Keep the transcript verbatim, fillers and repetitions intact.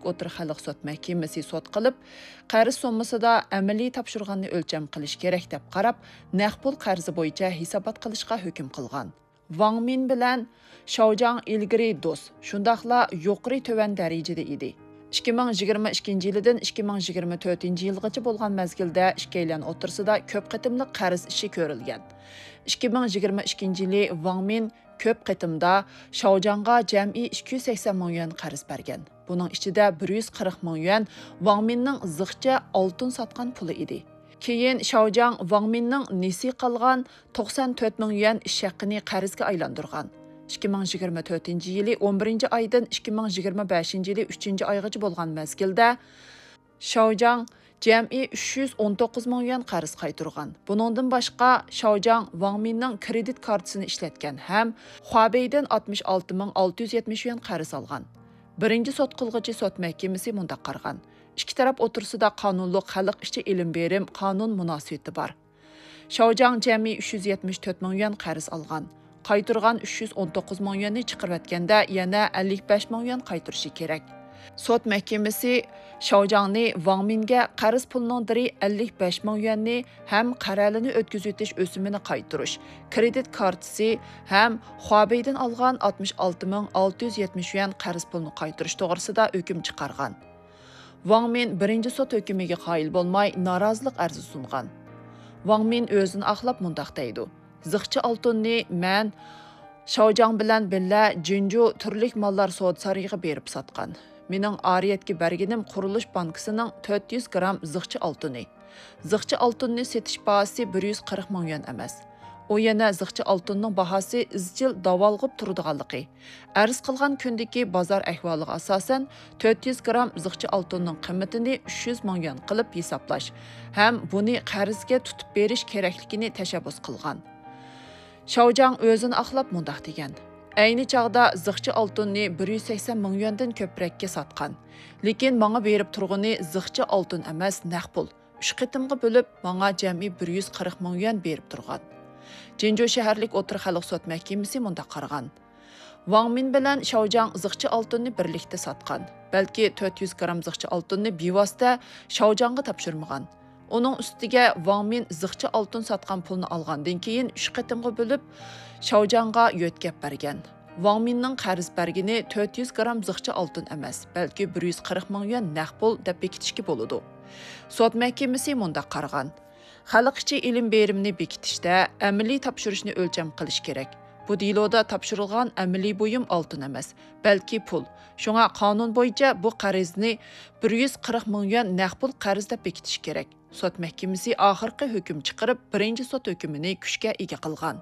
ئوتتۇرا خەلق سوت مەھكىمىسى سوت قىلىپ، قەرز سوممىسىدا ئەمەلىي تاپشۇرغاننى ئۆلچەم قىلىش كېرەك دەپ قاراپ، نەق پۇل قەرزى بويىچە ھېسابات قىلىشقا ھۆكۈم قىلغان. ۋاڭ مىن بىلەن شاۋجاڭ ئىلگىرى دوست، شۇنداقلا يۇقىرى تۆۋەن دەرىجىدە ئىدى. ئىككى مىڭ يىگىرمە ئىككىنچى يىلىدىن ئىككى مىڭ يىگىرمە تۆتىنچى يىلغىچە بولغان مەزگىلدە ئىككىيلەن ئوتتۇرىسىدا كۆپ قېتىملىق قەرز ئىشى كۆرۈلگەن. ئىككى مىڭ يىگىرمە ئىككىنچى يىلى ۋاڭ مىن كۆپ قېتىمدا شاۋجاڭغا جەمئىي ئىككى يۈز سەكسەن مىڭ يۈەن قەرز بەرگەن. بۇنىڭ ئىچىدە بىر يۈز قىرىق مىڭ يۈەن ۋاڭ مىننىڭ زىخچە ئالتۇن ساتقان پۇلى ئىدى. كېيىن شاۋجاڭ ۋاڭ مىننىڭ نېسى قالغان توقسان تۆت مىڭ يۈەن ئىش ھەققىنى قەرزگە ئايلاندۇرغان. ئىككى مىڭ يىگىرمە تۆتىنچى يىلى ئون بىرىنچى ئايدىن ئىككى مىڭ يىگىرمە بەشىنچى يىلى ئۈچىنچى ئايغىچە بولغان مەزگىلدە شاۋجاڭ جەمئىي ئۈچ يۈز ئون توققۇز مىڭ يۈەن قەرز قايتۇرغان. بۇنىڭدىن باشقا، شاۋجاڭ ۋاڭ مىننىڭ كرېدىت كارتىسىنى ئىشلەتكەن ھەم خۇابېيدىن ئاتمىش ئالتە مىڭ ئالتە يۈز يەتمىش يۈەن قەرز ئالغان. بىرىنچى سوت قىلغۇچى سوت مەھكىمىسى مۇنداق قارىغان: ئىككى تەرەپ ئوتتۇرىسىدا قانۇنلۇق خەلق ئىچى ئېلىم بېرىم قانۇن مۇناسىۋىتى بار. شاۋجاڭ جەمئىي ئۈچ يۈز يەتمىش تۆت مىڭ يۈەن قەرز ئالغان. قايتۇرغان ئۈچ يۈز ئون توققۇز مىڭ يۈەننى چىقىرىۋەتكەندە يەنە ئەللىك بەش مىڭ يۈەن قايتۇرۇشى كېرەك. سوت مەھكىمىسى شاۋجاڭنى ۋاڭ مىنگە قەرز پۇلنىڭ دىرى ئەللىك بەش مىڭ يۈەننى ھەم قەرەلىنى ئۆتكۈزۈۋېتىش ئۆسۈمىنى قايتۇرۇش، كرېدىت كارتىسى ھەم خۇابېيدىن ئالغان ئاتمىش ئالتە مىڭ ئالتە يۈز يەتمىش يۈەن قەرز پۇلنى قايتۇرۇش توغرىسىدا ھۆكۈم چىقارغان. ۋاڭ مىن بىرىنچى سوت ھۆكمىگە قايىل بولماي، نارازىلىق ئەرزى سۇنغان. ۋاڭ مىن ئۆزىنى ئاقلاپ مۇنداق دەيدۇ: زىخچە ئالتۇننى مەن شاۋجاڭ بىلەن بىللە جىنجۇ تۈرلۈك ماللار سودا سارىيىغا بېرىپ ساتقان. مېنىڭ ئارىيەتكە بەرگىنىم قۇرۇلۇش بانكىسىنىڭ تۆت يۈز گرام زىخچە ئالتۇنى. زىخچە ئالتۇننى سېتىش باھاسى بىر يۈز قىرىق مىڭ يۈەن ئەمەس. ئۇ يەنە زىخچە ئالتۇننىڭ باھاسى ئىزچىل داۋالغۇپ تۇرىدىغانلىقى، ئەرز قىلغان كۈندىكى بازار ئەھۋالىغا ئاساسەن، تۆت يۈز گرام زىخچە ئالتۇننىڭ قىممىتىنى ئۈچ يۈز مىڭ يۈەن قىلىپ ھېسابلاش ھەم بۇنى قەرزگە تۇتۇپ بېرىش كېرەكلىكىنى تەشەببۇس قىلغان. شاۋجاڭ ئۆزىنى ئاقلاپ مۇنداق دېگەن: ئەينى چاغدا زىخچە ئالتۇننى بىر يۈز سەكسەن مىڭ يۈەندىن كۆپرەككە ساتقان. لېكىن ماڭا بېرىپ تۇرغىنى زىخچە ئالتۇن ئەمەس، نەق پۇل. ئۈچ قېتىمغا بۆلۈپ، ماڭا جەمئىي بىر يۈز قىرىق مىڭ يۈەن بېرىپ تۇرغان. جىنجۇ شەھەرلىك ئوتتۇرا خەلق سوت مەھكىمىسى مۇنداق قارىغان: ۋاڭ مىن بىلەن شاۋجاڭ زىخچە ئالتۇننى بىرلىكتە ساتقان. بەلكى تۆت يۈز گرام زىخچە ئالتۇننى بىۋاسىتە شاۋجاڭغا تاپشۇرمىغان. ئۇنىڭ ئۈستىگە ۋاڭ مىن زىخچە ئالتۇن ساتقان پۇلنى ئالغاندىن كېيىن ئۈچ قېتىمغا بۆلۈپ، شاۋجاڭغا يۆتكەپ بەرگەن. ۋاڭ مىننىڭ قەرز بەرگىنى تۆت يۈز گرام زىخچە ئالتۇن ئەمەس، بەلكى بىر يۈز قىرىق مىڭ يۈەن نەق پۇل دەپ بېكىتىشكە بولىدۇ. سوت مەھكىمىسى مۇنداق قارىغان: خەلق ئىچى ئېلىم بېرىمنى بېكىتىشتە ئەمەلىي تاپشۇرۇشنى ئۆلچەم قىلىش كېرەك. بۇ دېلودا تاپشۇرۇلغان ئەمەلىي بۇيۇم ئالتۇن ئەمەس، بەلكى پۇل. شۇڭا قانۇن بويىچە بۇ قەرزنى بىر يۈز قىرىق مىڭ يۈەن نەق پۇل قەرز دەپ بېكىتىش كېرەك. سوت مەھكىمىسى ئاخىرقى ھۆكۈم چىقىرىپ، بىرىنچى سوت ھۆكمىنى كۈچكە ئىگە قىلغان.